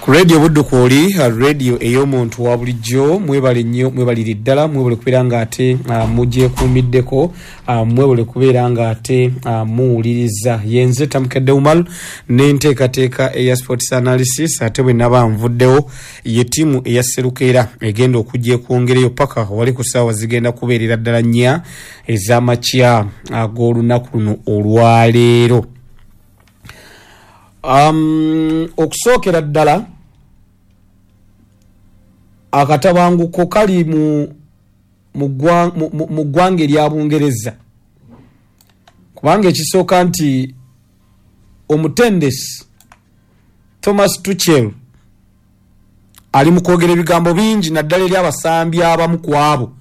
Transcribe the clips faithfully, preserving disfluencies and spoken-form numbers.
Ku Radio Buddu kwoli, radio ey'omuntu wa bulijjo. Mwebale nnyo, mwebalire ddala, mwebale kubeera nga ate uh, mugyekuumiddeko, uh, mwebale kubeera nga ate uh, muwuliriza. Yenze Tamukedde Umar n'enteekateeka eya sports analysis. Ate bwe naba nvuddewo, ye ttiimu eya Serukeera egenda okujja ekwongereyo paka wali ku ssaawa zigenda kubeerera ddala nnya ez'amakya ag'olunaku luno olwaleero. um, okusookera ddala, akatabanguko kali mu mu ggwanga erya Bungereza, kubanga ekisooka nti omutendesi Thomas Tuchel ali mu kwogera ebigambo bingi, naddala eri abasambi abamu ku abo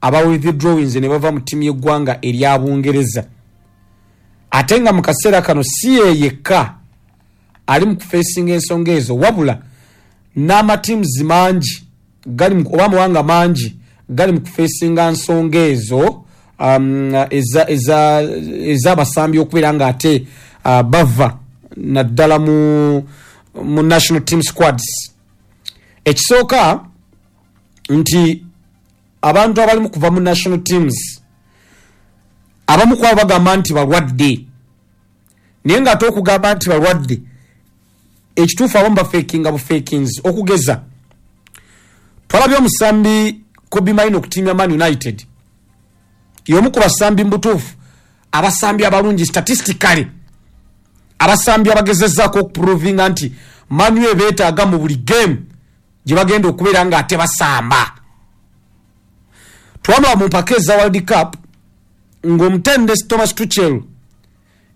aba withdrawings ne bava mu ttiimu y'eggwanga erya Bungereza. Ate nga mu kaseera kano si ye yekka ali mu kufeesinga ensonga ezo, wabula n'amatiimuzi mangi gali oba amawanga mangi gali mu kufeesinga nsonga ezo um, ez'abasambi okubeera nga ate uh, bava naddala mu, mu national team squads. Ekisooka nti abantu abali mu kuva mu national teams, abamu kwabo bagamba nti balwadde, naye nga ate okugamba nti balwadde, ekituufu abamu bafeekinga bufeekings. Okugeza, twalabye omusambi Kobbie Mainoo ku ttiimu ya Man United, y'omu ku basambi mu butuufu abasambi abalungi statistically, abasambi abagezezzaako okuprovinga nti Man U beetaaga mu buli game gye bagenda okubeera nga ate basamba. Twamala mu mpaka eza World Cup ng'omutendesi Thomas Tuchel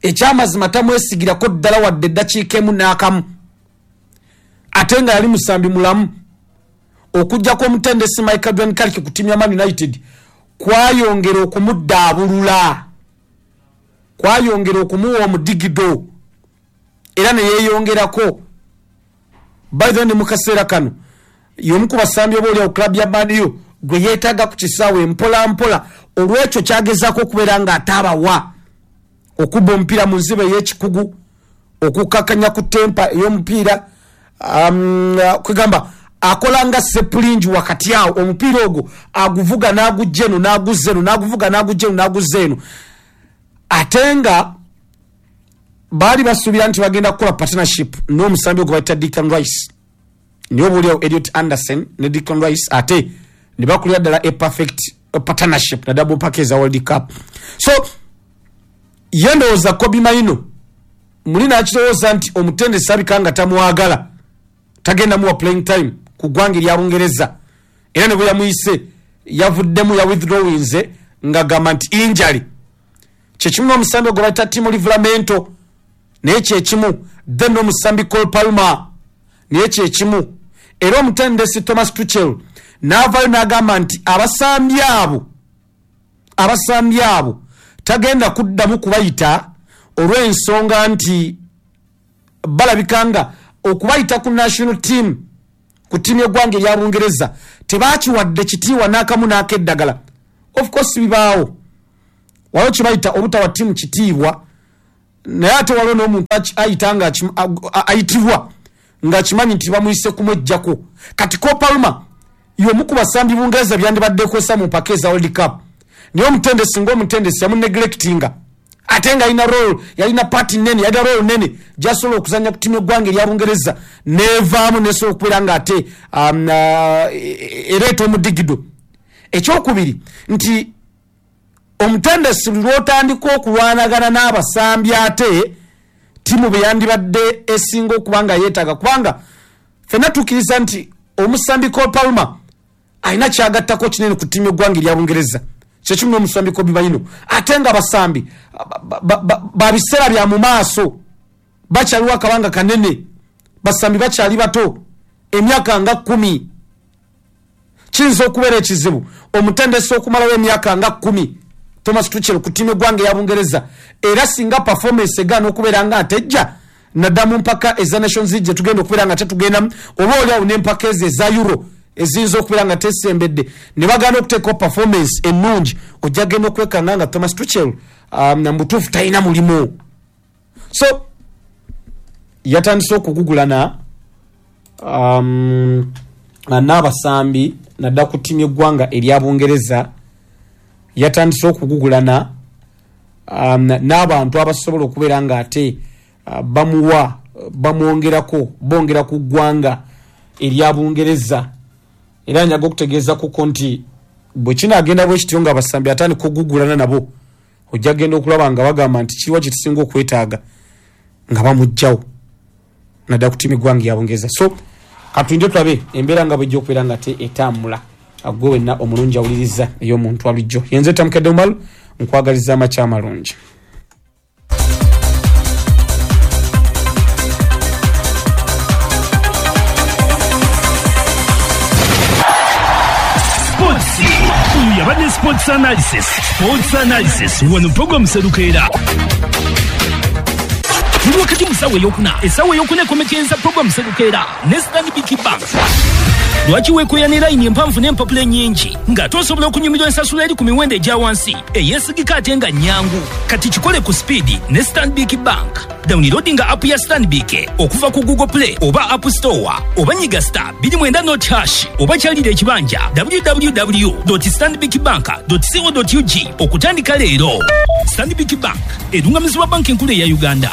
ekyamazima tamwesigirako ddala wadde eddakiika emu n'akamu, ate nga yali musambi mulamu. Okujjako omutendesi Michael John Carrick ku ttiimu ya Man United kwayongera okumuddaabulula, kwayongera okumuwa omudigido, era ne yeeyongerako. By the way, ne mu kaseera kano y'omu ku basambi oba oliawo club ya Man U gwe yeetaaga ku kisaawe mpola mpola, olw'ekyo kyagezaako okubeera ng'ataabawa okubba omupiira mu nziba ey'ekikugu, okukakkanya ku tempo ey'omupiira, um, kwegamba akola nga sepulingi wakati awo, omupiira ogwo aguvuga n'agujja eno n'aguzza eno, n'aguvuga n'agujja eno n'aguzza eno. Ate nga baali basuubira nti bagenda kukola partnership n'omusambi ogwo bayita Declan Rice, naye oba oliawo Elliot Anderson ne Declan Rice ate ne bakulira ddala a perfect partnership naddala mu mpaka eza World Cup. So ye ndowooza Kobbie Mainoo muli nakirowooza nti omutendesi abika nga tamwagala, tagenda muwa playing time ku ggwanga erya Bungereza, era ne bwe yamuyise yavuddemu ya withdrawinze ng'agamba nti injury. Kyekimu n'omusambi ogwo bayita Timo Livramento, naye kyekimu. Then n'omusambi Cole Palmer, naye kyekimu. Era omutendesi Thomas Tuchel n'avaayo n'agamba nti abasambi abo abasambi abo tagenda kuddamu kubayita, olw'ensonga nti balabika nga okubayita ku national team, ku ttiimu y'eggwanga erya Bungereza, tebakiwadde kitiibwa n'akamu n'akeddagala. Of course bibaawo, waliwo kibayita obutawa ttiimu kitiibwa, naye ate waliwo n'omuntu ayita nga ayitibwa ng'akimanyi nti bamuyise kumwejjako. Kati Cole Palmer y'omu ku basambi Bungereza byandibadde kwesa mu mpaka eza World Cup, naye omutendesi ng'omutendesi yamuneglectinga, ate nga alina role, yalina part nene, yalina role nene gyasobola okuzanya ku ttiimu y'eggwanga erya Bungereza, nevaamu nesobola okubeera nga ate um, uh, ereeta omudigido. Ekyokubiri nti omutendesi buli lw'otandika okulwanagana n'abasambi ate ttiimu bwe yandibadde esinga okuba nga yeetaaga, kubanga ffenna tukkiriza nti omusambi Cole Palmer alina kyagattako kinene ku ttiimu y'eggwanga erya Bungereza, kyekimu n'omusambi Kobbie Mainoo. Ate nga abasambi ba biseera bya mu maaso, bakyaliwo akabanga kanene, basambi bakyali bato, emyaka nga kkumi. Kiyinza okubeera ekizibu omutendesi okumalawo emyaka nga kkumi Thomas Tuchel ku ttiimu y'eggwanga eya Bungereza, era singa performance egaana okubeera nga atejja nadda mu mpaka eza Nations League gye tugenda okubeera nga tetugendamu, oba oliawo n'empaka ezo eza Euro eziyinza okubeera nga tesembedde, ne bagaana okuteekawo performance ennungi, ojja genda okwekanga nga Thomas Tuchel um, mu butuufu talina mulimu. So yatandise okugugulana. um, n'abasambi naddala ku ttiimu y'eggwanga erya Bungereza. Yatandise okugugulana um, n'abantu abasobola okubeera nga ate uh, bamuwa bamwongerako bongera ku ggwanga erya Bungereza. Era njaga okutegeeza kuko nti bwe kinaagenda bwe kityo nga abasambi atandika okugugulana nabo, ojja genda okulaba nga bagamba nti kiriwa kye tusinga okwetaaga nga bamuggyawo naddala ku ttiimu y'eggwanga ya Bungereza. So katulinde tulabe embeera nga bwejja okubeera nga te etambula. Gwe wenna omulungi awuliriza ey'omuntu wabulijjo, yenze Tamukedde Umaru, nkwagaliza amakya amalungi. Sports. Oyo yabadde Sports Analysis. Sports Analysis wano program Serukeera. Tuli wakati mu ssaawa eyokuna. Essaawa eyokuna ekomekereza program Serukeera ne Stanbic Bank. Lwaki weekoya ne layini empanvu n'empapula ennyingi ng'ate osobola okunyumirwa ensasula eri ku miwendo egya wansi eyeesigika ate nga nnyangu? Kati kikole ku sipiidi ne Stanbic Bank. Downloadinga app ya Stanbic okuva ku Google Play oba App Store oba nyiga star bbiri mwenda not hash oba kyalira ekibanja w w w dot stanbicbank dot co dot u g okutandika leero. Stanbic Bank erungamizibwa Banki Enkulu eya Uganda.